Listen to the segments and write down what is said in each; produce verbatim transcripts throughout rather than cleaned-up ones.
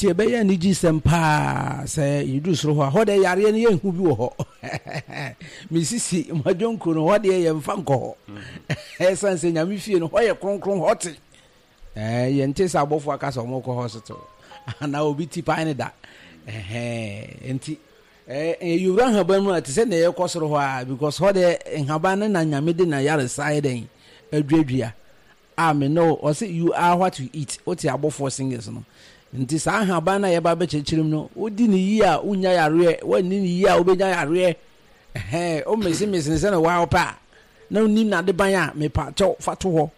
Nti ɛbɛyɛ anigye sɛm paa sɛ yɛduru soro hɔ a, hɔ deɛ yareɛ no yɛnhu bi wɔ hɔ. Mesisi mmadwonkuo no, hɔ deɛ yɛmfa nkɔ hɔ. Ɛsiane sɛ Nyame fie no, hɔ yɛ kronkron, hɔ te. Ɛɛ, yɛnte sɛ abɔfoɔ aka sɛ wɔkɔ hospital anaa obi ti pae ne da. Ɛhɛn, nti ɛɛ yɛwura nhaban mu a, te sɛ nea yɛkɔ soro hɔ a, because hɔ deɛ nhaban no na Nyame de na yaresa ayɛ dɛn aduadua. A me ne wo, ɔse you are what you eat, wote abɔfoɔ singers no. Nti saa nhaban no a yɛba bɛkyerɛkyerɛ mu no, wodi ne yie a wonnya yareɛ, woanni ne yie a wobɛnya yareɛ. Ɛhɛn, womesemese no sɛdeɛ woa wopɛ a, na wonim n'adeban a, mepa kyɛw fa to hɔ.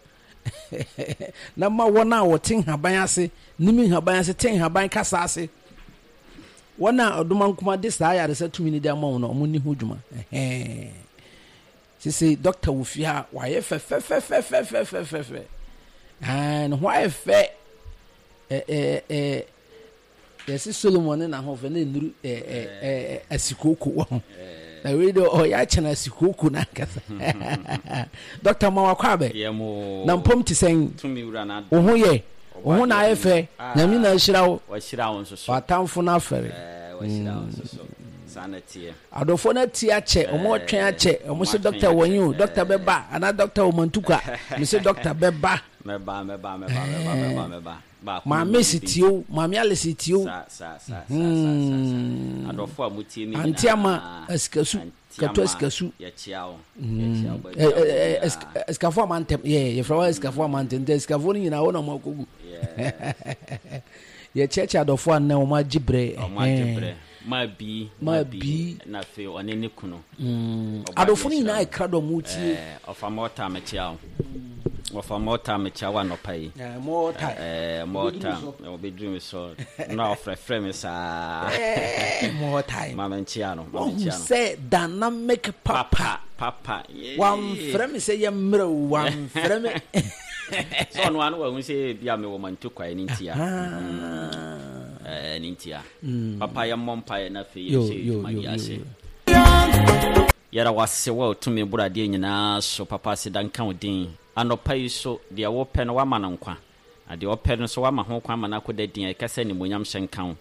Na ma wɔn a wɔte nhaban ase, nim nhaban ase, te nhaban kasa ase, wɔn a ɔdomankoma de saa ayaresa tumi no de ama wɔn no, wɔn nni ho dwuma. Ɛhɛn. Sese dɔkta wɔ fie ha, wayɛ fɛfɛfɛfɛfɛfɛfɛ. Ɛɛ, ne ho ayɛ fɛ. Ɛ ɛ ɛ yɛsi Solomon ne n'ahoɔfɛ na nnuru ɛ ɛ ɛ asikooko wɔ ho. Na wei de ɔyɛ akyɛn asikooko n'ankasa. Dɔkta ma wakɔ abɛ. Na mpom te sɛn? Wo ho yɛ? Wo ho na ayɛ fɛ. Nyame na ahyira wo. W'atamfo no afɛre. Adɔfoɔ no atie akyɛ, wɔn atwɛn akyɛ, wɔn se dɔkta wɔ he o, dɔkta bɛba, anaa dɔkta wɔ Mantukwa, me se dɔkta bɛba. Mɛba, mɛba, mɛba, mɛba, mɛba, mɛba. Baako Maame si tie o, Maame Alice tie o. Sa, sa, sa, sa, sa, sa. Adɔfoɔ a motie me Ante ama nyinaa. asikasu, Ante katu ama asikasu. yɛkyea wo. Yɛkyea wo baabi a wɔ biara. Asikafoɔ ama ntɛm, yɛ yɛfrɛ wɔn asikafoɔ ama ntɛm, nti asikafoɔ no nyinaa wɔn na wɔn akɔgu. Yes. Yɛkyerɛkyerɛ adɔfoɔ a nnɛ wɔn agye berɛ. Wɔn agye berɛ. Maa bi, maa bi, na afei ɔne ne kunu. Mm. Adɔfo no nyinaa ɛkra dɔ mo tie. Ɔfa mɔta mekyia wo. Ɔfa mɔta mekyia wo anɔpa yi. Mɔta. Ɛɛ mɔta. Ɔbɛduru mi so. Na ɔfrɛfrɛ mi saa. Mɔta. Maame nkyia no. Wɔn sɛ dynamic papa. Papa. Wamfrɛ mi sɛ yɛ mmerɛ o. Wamfrɛ mi. Sɛ ɔno ano wɔn sɛ bi a mi wɔ mantu kwae ne ntia. Ɛɛ ne ntia. Papa yɛ mmɔ mpaeɛ na afei yɛnhyɛ yɛ dwumadi ase. Yɛda wase wɔ tumi boro adeɛ nyinaa so. Papa aseda nka wo din. Anɔpa yi so deɛ wopɛ no wama no nkwa. Na deɛ ɔpɛ no so wama ho kwan ma no akɔda din a ɛka sɛ animuonyam hyɛ nka wo.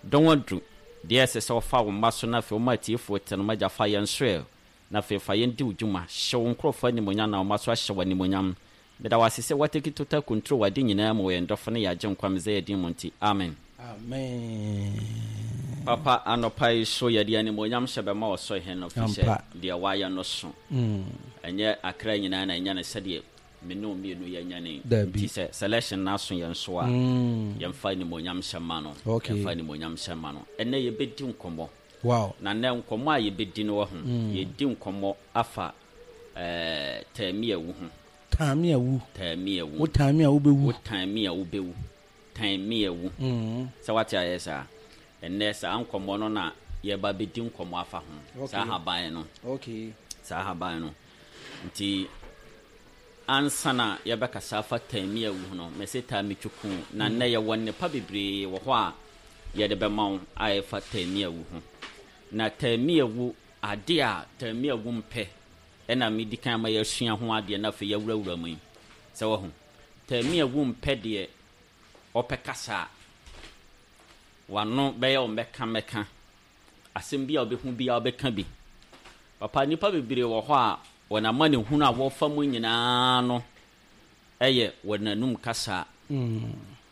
Dɔn aduru. Deɛ ɛsɛ sɛ ɔfa wo mma so na afei woma atiefoɔ te no magya fa yɛn so ɛ. Na afei fa yɛn di wo dwuma. Hyɛ wo nkurɔfoɔ animuonyam na wo mma so ahyɛ wo animuonyam. Meda wo ase sɛ woatake total control wɔ ade nyinaa mu wɔ yɛn dɔfo ne yɛn Agyenkwa Mesaia din mu nti. Amen. Amen. Papa, anɔpa yi so yɛde animuonyam hyɛ bɛma ɔsoro hene no, firi sɛ deɛ wayɛ no so. Ɛnyɛ akra nyinaa na ɛnya no sɛdeɛ me ne wo mmienu yɛanya no yi. Dabi. Nti sɛ selection no aso yɛn so a, yɛmfa animuonyam hyɛ mma no. Okay. Yɛmfa animuonyam hyɛ mma no. Ɛnnɛ yɛbɛdi nkɔmmɔ. Wow. Na nnɛ nkɔmmɔ a yɛbɛdi no wɔ ho, yɛdi nkɔmmɔ afa ɛɛ taamiawu ho. Taamiawu. Taamiawu. Wo taami a wobɛwu. Wo taami a wobɛwu. Taamiawu. Sɛ wate ayɛ saa. Ɛnnɛ saa nkɔmmɔ no na yɛba bɛdi nkɔmmɔ afa ho. Okay. Saa haban no. Okay. Saa haban no. Nti ansa na yɛbɛkasa afa taamiawu ho no, mɛsɛ taamitwuku. Na nnɛ yɛwɔ nnepa bebree wɔ hɔ a yɛde bɛma wo a ɛfa taamiawu ho. Na taamiawu, ade a taamiawu mpɛ ɛna medi kan ma yɛasua ho adeɛ na afei yɛawurawura mu yi. Sɛ wahu. Taamiawu mpɛ deɛ ɔpɛ kasa a wano bɛyɛ wo mmɛka mmɛka. Asɛm bi a wobɛhu bi a wobɛka bi. Papa, nnipa bebree wɔ hɔ a wɔn amanehunu a wɔfa mu nyinaa no ɛyɛ wɔn anum kasa.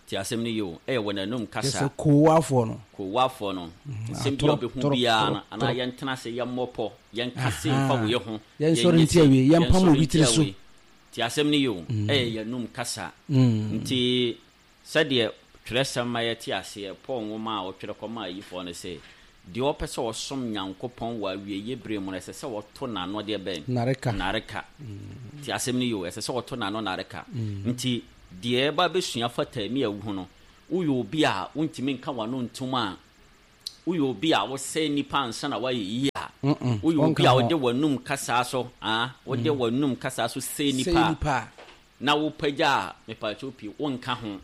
Ti asɛm no yie o, ɛyɛ wɔn anum kasa. Kyɛ sɛ koowafoɔ no. Koowafoɔ no. Nsɛm bi a wobɛhu biara no, anaa yɛntena ase, yɛmmɔ pɔ, yɛnka se mfa wei ho. Yɛnsɔre ntia wei, yɛmpam obi tiri so. Ti asɛm no yie o, ɛyɛ yɛn anum kasa. Nti sɛdeɛ twerɛsɛm ma yɛte aseɛ, Paul nwoma a ɔtwerɛ kɔmaa ayifoɔ no sɛ, deɛ ɔpɛ sɛ ɔsom Nyankopɔn wɔ awieeɛ berɛ mu no, ɛsɛ sɛ ɔto n'ano deɛ bɛn? Nareka. Nareka. Ti asɛm no yie o, ɛsɛ sɛ ɔto n'ano nareka. Nti deɛ ɛba bɛsua fa taamiawu ho no, woyɛ obi a wontumi nka w'ano ntom a, woyɛ obi a wosɛe nnipa ansa na woayɛ yie a, woyɛ obi a wode w'anum kasaa so, ah, wode w'anum kasaa so sɛe nnipa a, na wopagya a, mepaakyɛw pii, wonka ho.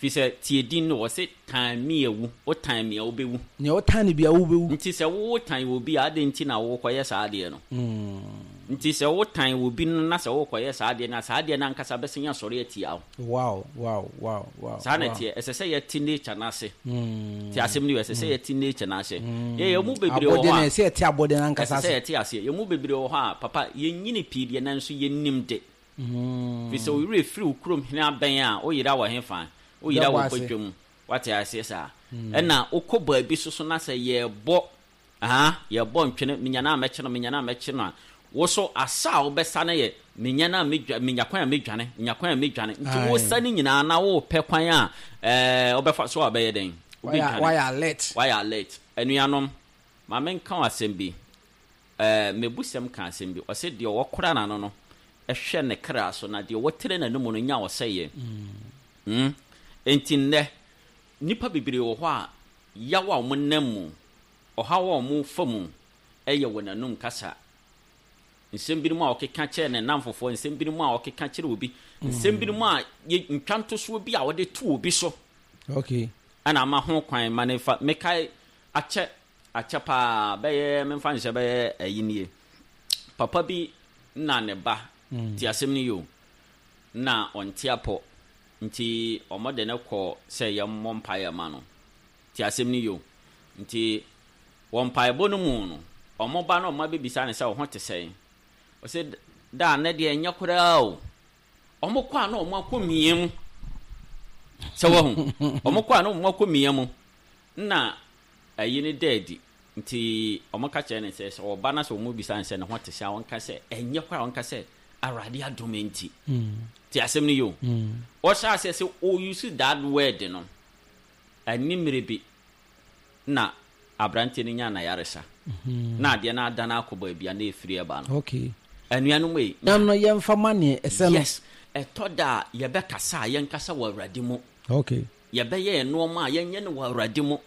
Fi sɛ tie din no, wɔse tan me awu, wotan me a wobɛwu. Nea wotan no bia wobɛwu. Nti sɛ wotan obi a, adɛn nti na wokɔyɛ saa adeɛ no? Nti sɛ wotan obi no na sɛ wokɔyɛ saa adeɛ no a, saa adeɛ no ankasa bɛsen asɔre atia wo. Wow, wow, wow, wow. Saa na wow. ɛteɛ. Ɛsɛ sɛ yɛte nature no ase. Te asɛm no yɛ, ɛsɛ sɛ yɛte nature no ase. Yɛ yɛn mu bebree wɔ Abɔde hɔ no a, ɛsɛ yɛte abɔde no ankasa ɛsɛ sɛ ase. yɛte aseɛ. Yɛn mu bebree wɔ hɔ a, papa, yɛnyini pii deɛ nanso yɛnnim de. Fi sɛ wo werɛ firi wo kurom hene abɛn a, woyera wɔ hefa? Woyera Bɛbɔ wɔ ase. badwam. Wate aseɛ saa. Ɛna wokɔ baabi so so na sɛ yɛbɔ aha yɛbɔ ntwene, menya no a mɛkye no, menya no a mɛkye no a, wo so asa a wobɛsa no yɛ menya no a medwa, menya kwan a medwane, menya kwan a medwane. Nti Aye. wosa no nyinaa na wopɛ kwan a ɛɛ wobɛfa so a wobɛyɛ dɛn? Wayɛ Wobɛdwane. wayɛ alert. Wayɛ alert. Anuanom, ma menka wo asɛm bi. Ɛɛ mebusɛm ka asɛm bi. Ɔse deɛ ɔkora n'ano no ɛhwɛ ne kra so, na deɛ wɔtene n'anom no nya ɔsɛeɛ. Mm. Enti nnɛ, nnipa bebree wɔ hɔ a yaw a wɔnam mu, ɔhaw a wɔfa mu ɛyɛ wɔ n'anum kasa. Nsɛm binom a ɔkeka kyerɛ ne namfofoɔ, nsɛm binom a ɔkeka kyerɛ obi, nsɛm binom a yɛ ntwa ntosoɔ bi a wɔde to obi so Okay. ɛna ama ho kwan ma ne fa. Mekae akyɛ akyɛ paa, bɛyɛ memfa nhyɛ bɛyɛ ayi nie. Papa bi na ne ba te asɛm no yi o, na ɔnte apɔ, nti ɔmo de ne kɔ sɛ yɛmmɔ mpaeɛ ma no. Te asɛm no yi o, nti wɔ mpaebɔ no mu no, ɔmo ba no, ɔmo abɛbisa ne sɛ ɔho te sɛn. Ɔsɛ da ne deɛ ɛnyɛ koraa o. Ɔmo kɔ a na ɔmo akɔ mia mu sɛ wahu, ɔmo kɔ a na ɔmo akɔ mia mu na ayi ne da adi. Nti ɔmo ka kyerɛ ne sɛ sɛ ɔba na sɛ ɔmo bisa ne sɛ ne ho te sɛ a, ɔnka sɛ ɛnyɛ koraa, ɔnka sɛ Awurade adom nti. Te asɛm no yi o, ɔhyɛ aseɛ sɛ ɔuse that word no, ani mmerɛ bi na aberanteɛ no nya n'ayaresa na adeɛ no adane akɔ baabi a na ɛfiri ɛba no. Okay. Anuanom yi, Nam no yɛmfa ma neɛ ɛsɛ no. Yes, ɛtɔ da a yɛbɛkasa a, yɛnkasa wɔ Awurade mu. Okay. Yɛbɛyɛ nneɛma a, yɛnyɛ no wɔ Awurade mu.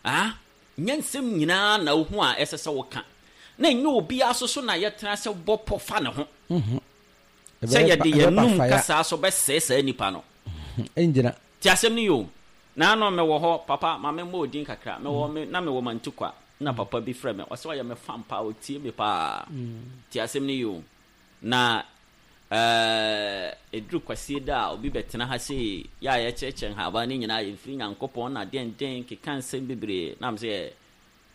Ah, nyɛ nsɛm nyinaa na wohu a ɛsɛ sɛ woka, na ɛnyɛ obiara so so na yɛtena sɛ bɔ pɔ fa ne ho sɛ yɛde yɛnum kasa so bɛsɛe saa nipa no. Ɛngyina. Te asɛm no yi o. Naano mewɔ hɔ, papa, ma memmɔ odin kakra. Mewɔ me na mewɔ Mantukwa na papa bi frɛ me, ɔsɛ ɔyɛ me fan paa, ɔtie me paa. Te asɛm no yi o. Na ɛɛ ɛduru Kwasie da a, obi bɛtena ha sei yɛ a yɛkyerɛkyerɛ nhaban no nyinaa yɛmfiri Nyankopɔn na dɛndɛn keka nsɛm bebree, na m sɛ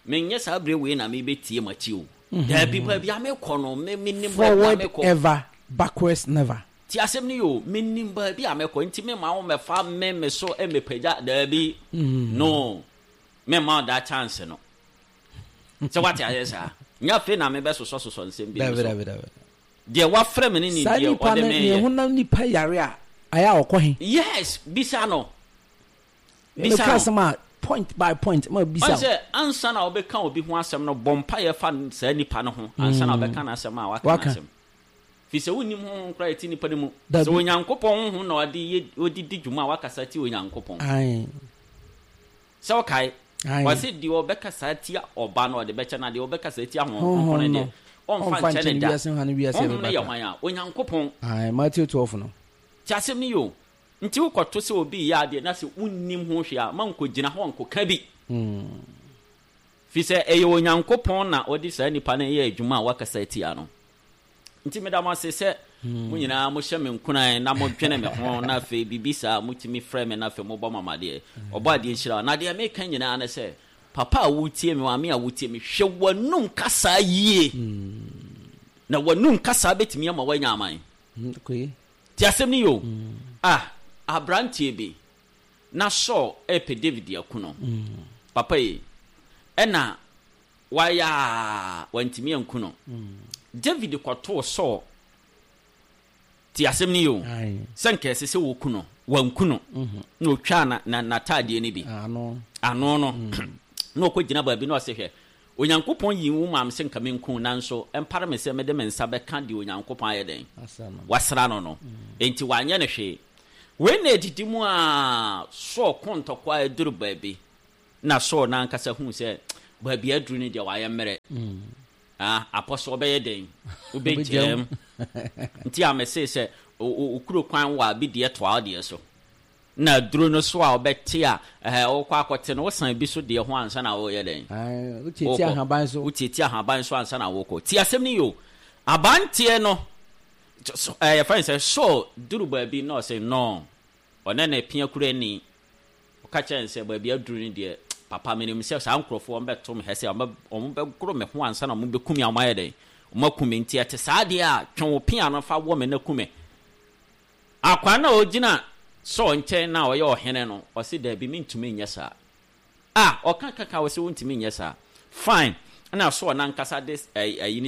menyɛ saa berɛ wei na mebɛtie m'akyi o. Daabi, baabi a mekɔ no, me menim baabi a Forward mekɔ. ever, backwards never. Ti asɛm no yi o, menim baabi a mekɔ, nti mema wo mɛfa me me so mɛpagya. Daabi, no, mema wo that chance no sɛ wate ayɛ saa. Nyɛ afei na mebɛsosɔsosɔ nsɛm bi Dabi so. dabi dabi. Deɛ wafrɛ me ne ne Saa deɛ nipa ɔde no me ne yɛ. honam nipa yare a, ayɛ a ɔkɔ he? Yes, bisa no, bisa Meka no. asɛm a, point by point ma bisa ɔn wo. Sɛ ansa na wobɛka obi ho asɛm no, bɔ mpayɛ fa saa nipa no ho ansa na wobɛka n'asɛm a waka Waka. n'asɛm, fi sɛ wonnim honhom koraa ɛti nipa no mu. Dabi. Sɛ Onyankopɔn honhom na ɔde yɛ ɔde di dwuma a, wakasa ti Onyankopɔn. Ae. Sɛ wokae, Ae. ɔse deɛ ɔbɛkasa tia Ɔba no, ɔde bɛkyɛ, na deɛ ɔbɛkasa tia Honhom Honhom Kronkron no no deɛ, ɔmfa ɔmfa nkyɛ nkyɛ ne ne da. wiase ha ne wiase Honhom no ɛbɛba yɛ kora. hwan a? Onyankopɔn. Ae, Matthew twelve no. Nti asɛm no yɛ o. Nti wokɔto sɛ obi yɛ adeɛ na sɛ wonnim ho hwee a, ma nkɔgyina hɔ nkɔka bi, fi sɛ ɛyɛ Onyankopɔn na ɔde saa nipa no yɛ adwuma a wakasa atia no. Nti meda mo ase sɛ mo nyinaa mohyɛ me nkuran na modwene me ho, na afei biribi saa motumi frɛ me, na afei mobɔ mo amadeɛ. Ɔbɔ adeɛ nhyira wo. Na deɛ meka nyinaa ne sɛ, papa a wotie me, maame a wotie me, hwɛ w'anum kasa yie, na w'anum kasa bɛtumi ama woanya aman. Okay. Ti asɛm no yi o. Ah, aberanteɛ bi na Saul ɛpɛ David aku no, papa yi, ɛna wayɛ a wantumi anku no. David kɔtoo Saul. Ti asɛm no yi o. Ae. Sɛ nka ɛsɛ sɛ wɔku no, wanku no, na otwaa na na n'ataadeɛ no bi ano. Ano no na ɔkɔ gyina baabi na ɔsɛ, hwɛ, Onyankopɔn yi wo maam sɛ nka menku, nanso ɛmpare me sɛ mede me nsa bɛka deɛ Onyankopɔn ayɛ dɛn? Asa no. Wasra no no Enti wanyɛ no hwee. Wei na ɛdidi mu a Saul ko ntɔkwa a ɛduru baabi na Saul n'ankasa hu sɛ baabi aduru no deɛ, wayɛ mmerɛ. Ah, apɔ so ɔbɛyɛ dɛn? Wobɛgyaa mu. Nti a mese sɛ o- o- okuro kwan wɔ a bi deɛ toa wo deɛ so. Na aduro no so a wobɛte a, ɛhɛ, wokɔ akɔte no, wosan bi so deɛ ho ansa na woyɛ dɛn? Ae, wotietie ahaban so. Wotietie ahaban so ansa na wokɔ. Tie asɛm no yie o. Abanteɛ no, ɛɛ, yɛfrɛ no sɛ Saul duru baabi na ɔse no, ɔne ne pea kurani. Ɔka kyerɛɛ no sɛ, Baabi aduru no deɛ, papa, menim sɛ saa nkurɔfoɔ wɔbɛto me hɛ sɛ wɔbɛgoro me ho ansa na wɔbɛku me a wɔayɛ dɛn? Wɔaku me. Nti ɛte saa deɛ a, twe wo pea no fa wɔ me na ku me. Akwaa no a ɔgyina Saul nkyɛn no a ɔyɛ ɔhene no, ɔse, Dabi, mentumi nyɛ saa. Ah, ɔka kaka, ɔse wontumi nyɛ saa. Fine. Ɛna Saul no ankasa de ayi no